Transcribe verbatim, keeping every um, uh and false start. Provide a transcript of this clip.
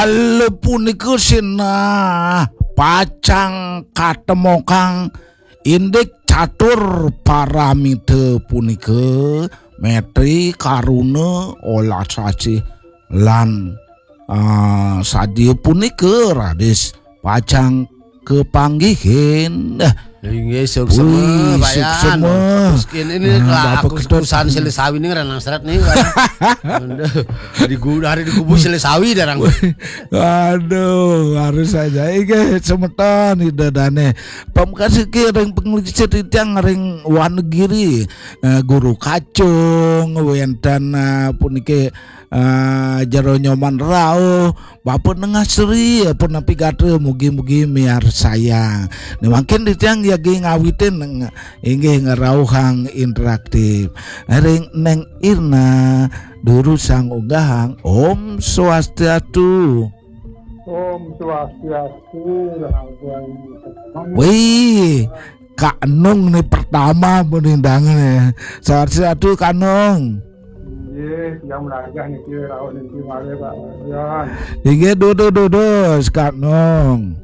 Inggih punika sinah pacang katemokang indik catur paramita punika, metri, karuna, olas asih, lan ah, sadia punika raris pacang kapanggihin. Inggih, suksema, Wih, Pak Yan. Suksema. Terus ini, ini Ah, lah, Bapak aku Ketut. Urusan silih sawi nih, renang seret nih, Pak. Aduh, di gu-, hari di kubu silih sawi, darang. Aduh, harus saja. Inggih, semeton Ida Dane. Pamekasih ki ring panglingsir titiang ring Wanegiri. Eh, Guru Kacung, wenten, eh, puniki, eh, Jero Nyoman Rauh, Bapak Nengah Sri, pun napi gatra, mugi-mugi miarsayang. Nih, mangkin titiang yagi ngawitin neng-, inggih ngrauhang interaktif. Ring Neng Irna, durusang unggahang. Om Swastiastu. Om Swastiastu, Rahayu. Wih, Kak Nung nih pertama penindangan ya. Swastiastu, Kak Nung. Nggih, tiang melajah niki, rauh niki malih, Pak Yan. Inggih, dudu, dudu, Kak Nung.